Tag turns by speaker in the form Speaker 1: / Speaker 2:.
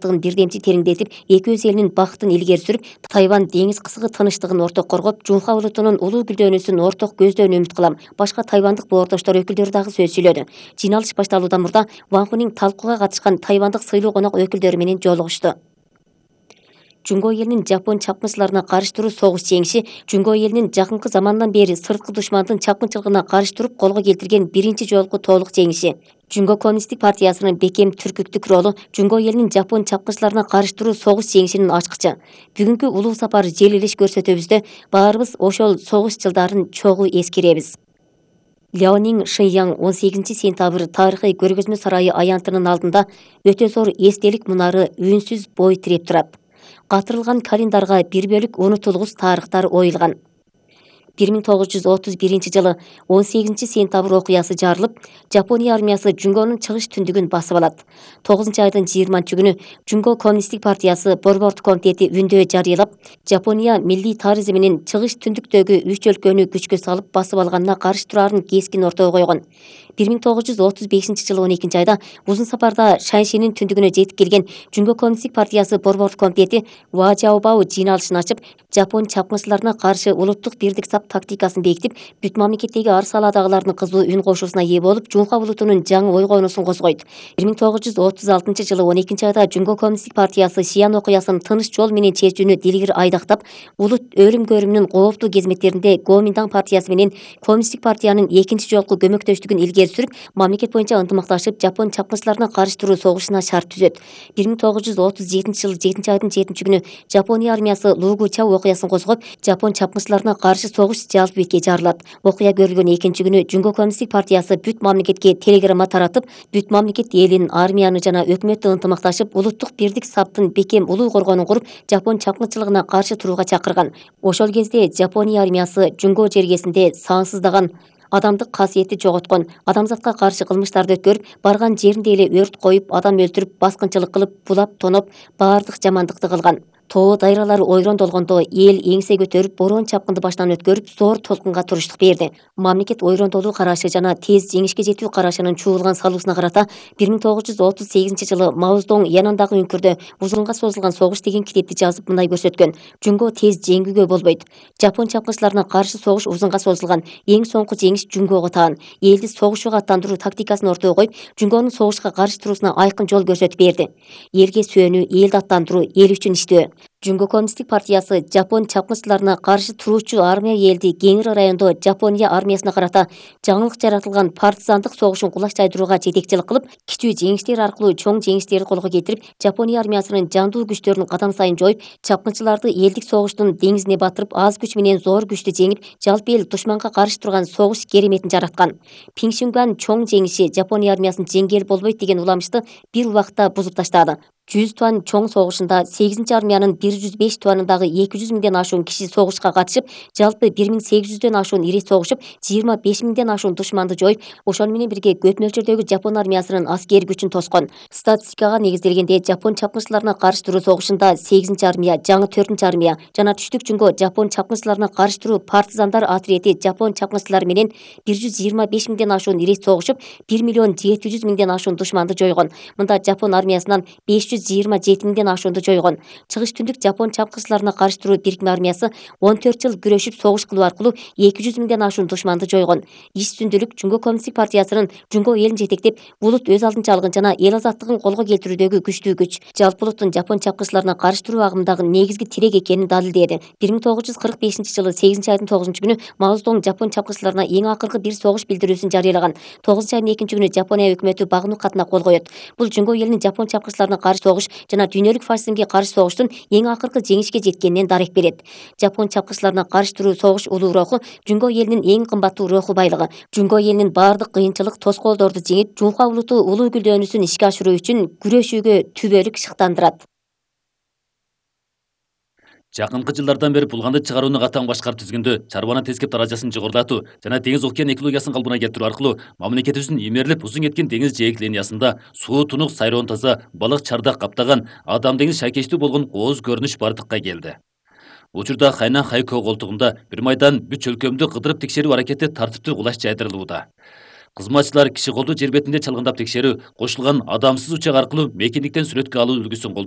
Speaker 1: бирдемчи тереңдетип, эки өз элинин бакытын илгери сүрүп, Тайвань деңиз кысыгы тынчтыгын орток коргоп, Жунха улутунун улуу гүлдөнүүсүн орток көздөөнү үмүт кылам. Башка тайвандык боордоштор өкүлдөрү дагы сөз сүйлөдү. Жыйналыш башталуудан мурда Ван Хунин талкууга катышкан тайвандык сыйлуу конок өкүлдөрү менен жолугушту. Жунго элинин жапон чапкынчыларына каршы туруу согуш жеңиши Жунго элинин жакынкы замандан бери сырткы душмандын чапкынчылыгына каршы туруп колго келтирген биринчи жолку толук жеңиши. Жунго коммунисттик партиясынын бекем түркүктүк ролу Жунго элинин жапон чапкынчыларына каршы туруу согуш жеңишинин ачкычы. Бүгүнкү улуу сапар желилеш көрсөтөбүздө баарыбыз ошол согуш жылдарын чогуу эскеребиз. Ляонин Шэньян 18-сентябрь тарыхый көргөзмө сарайы аянтынын алдында өтө зор эстелик мунары үнсүз бой тиреп турат. Катырылган календарга бир бөлүк унутулгус тарыхтар оюлган. 1931 жылы 18-сентябрь окуясы жарылып, Жапония армиясы Жунгонун чыгыш түндүгүн басып алат. 9-айдын 20-күнү Жунго коммунисттик партиясы борбордук комитети үндөө жарыялап, Жапония милли тарыхы менен чыгыш түндүктөгү 3 өлкөнү күчкө салып басып алганына каршы турарын кескин ортого койгон. 1935 жылы 12-айда узун сапарда Шаньшинин түндүгүнө жетип келген Жунго коммунисттик партиясы борбордук комитети Ва Жаобао жыйналышын ачып, жапон чапкынчыларына каршы улуттук бирдик сап тактикасын бекитип, бүт мамлекеттеги ар салаадагылардын кызуу үн кошуусуна ээ болуп, Жунха улутунун жаңы ойгонуусун козгойт. 1936 жылы 12-айда Жунго коммунисттик партиясы Шиян окуясын тыныч жол менен чечүүнү дилгир айдактап, улут өлүм-көрүмүнүн кооптуу кезметтеринде Гоминдан партиясы менен коммунисттик партиянын экинчи жолку көмөктөштүгүн илгери сүрүп, мамлекет боюнча ынтымакташып, жапон чапкынчыларына каршы туруу согушуна шарт түзөт. 1937 жылы 7-айдын 7-күнү Жапония армиясы Лугуча окуясын козгоп, жапон чапкынчыларына каршы согуш жалпы бетке жарылат. Окуя көрүлгөн 2-күнү Жунго коммунисттик партиясы бүт мамлекетке телеграмма таратып, бүт мамлекет элин, армияны жана өкмөттү ынтымакташып, улуттук бирдик саптын бекем улуу коргоонун куруп, жапон чапкынчылыгына каршы турууга чакырган. Ошол кезде Жапония армиясы Жунго жергесинде сансыздаган адамдык касиетти жоготкон, адамзатка каршы кылмыштарды өткөрүп, барган жеринде эле өрт коюп, адам өлтүрүп, баскынчылык кылып, булап, тоноп, баардык жамандыкты кылган. Тоо дайралар ойрон долгондо эл эңсе көтөрүп, борон чапкынды башынан өткөрүп, зор толкунга туруштук берди. Мамлекет ойрондолуу карашы жана тез жеңишке жетүү карашынын чуулган салуусуна карата 1938 жылы Мао Цзэдун янындагы үңкүрдө узунга созулган согуш деген китепти жазып мындай көрсөткөн: Жунго тез жеңүүгө болбойт. Жапон чапкынчыларына каршы согуш узунга созулган. Эң соңку жеңиш Жунгого таан. Элди согушууга аттандыруу тактикасын ортого коюп, Жунгонун согушка каршы туруусуна айкын жол көрсөтүп берди. Элге сүйөнүү, элди аттандыруу, эл үчүн иштөө. Жунго коммунисттик партиясы жапон чапкынчыларына каршы туруучу армия элди Кеңир райондо Жапония армиясына карата жаңылык жаратылган партизандык согушун кулаш жайдырууга жетекчилик кылып, кичүү жеңиштер аркылуу чоң жеңиштерди колго келтирип, Жапония армиясынын жандуу күчтөрүн кадам сайын жоюп, чапкынчыларды элдик согуштун деңизине батырып, аз күч менен зор күчтү жеңип, жалпы эл душманга каршы турган согуш кереметин жараткан. Пиңшүнган чоң жеңиши Жапония армиясын жеңгел болбойт деген уламышты бир убакта бузуп таштады. 100 туан чоң согушунда 8 армиянын 105 туанындагы 200 миңден ашуун киши согушка катышып, жалпы 1800дөн ашуун ири согушуп, 25 миңден ашуун душманды жоюп, ошону менен бирге көп мөлчөрдөгү жапон армиясынын аскер күчүн тоскон. Статистикага негизделгенде жапон чапкынчыларына каршы туруу согушунда 8 армия, жаңы 4 армия жана түштүк Жунго жапон чапкынчыларына каршы туруу партизандар отряди жапон чапкынчылары менен 125 миңден ашуун ири согушуп, 1 миллион 700 миңден ашуун душманды жойгон. Мында жапон армиясынан 527 миңден ашуунду жойгон. Чыгыш түндүк жапон чапкынчыларына каршы туруу бирикме армиясы 14 жыл күрөшүп согуш кылуу аркылуу 200 миңден ашуун душманды жойгон. Иш үстүндүлүк Жунго коммунисттик партиясынын Жунго элин жетектеп, улут өз алдынчалыгын жана эл азаттыгын колго келтирүүдөгү күчтүү күч, жалпы улуттун жапон чапкынчыларына каршы туруу агымдагы негизги тирек экенин далилдеди. 1945 жылы 8-айдын 9-күнү Мао Цзэдун жапон чапкынчыларына эң акыркы бир согуш билдирүүсүн жарыялаган. 9-айдын 2-күнү Жапония өкмөтү багынуу катына кол коёт. Бул Жунго элинин жапон чапкынчыларына каршы согуш жана дүйнөлүк фашизмге каршы согуштун эң акыркы жеңишке жеткенинен дарек берет. Жапон чапкынчыларына каршы туруу согуш улуу руху Жунго элинин эң кымбаттуу руху байлыгы. Жунго элинин баардык кыйынчылык, тоскоолдорду жеңип, Жунха улуту улуу гүлдөнүүсүн ишке ашыруу үчүн күрөшүүгө түбөлүк шыктандырат.
Speaker 2: Жакынкы жылдардан бери булганды чыгарууну катаң башкарып түзгөндө чарбанын тескеп даражасын жогорулатуу жана деңиз океан экологиясын калпына келтирүү аркылуу мамлекетибиздин имерилип узун кеткен деңиз жээк линиясында суу тунук сайроон таза, балык чардак каптаган, адам деңиз шайкечтүү болгон кооз көрүнүш бардыкка келди. Учурда Хайнан Хайко колтугунда бир майдан бүт өлкөмдү кыдырып текшерүү аракети тартиптүү кулаш жайдырылууда. Кызматчылар киши колду жер бетинде чалгындап текшерүү, кошулган адамсыз учак аркылуу мекендиктен сүрөткө алуу үлгүсүн колдонуп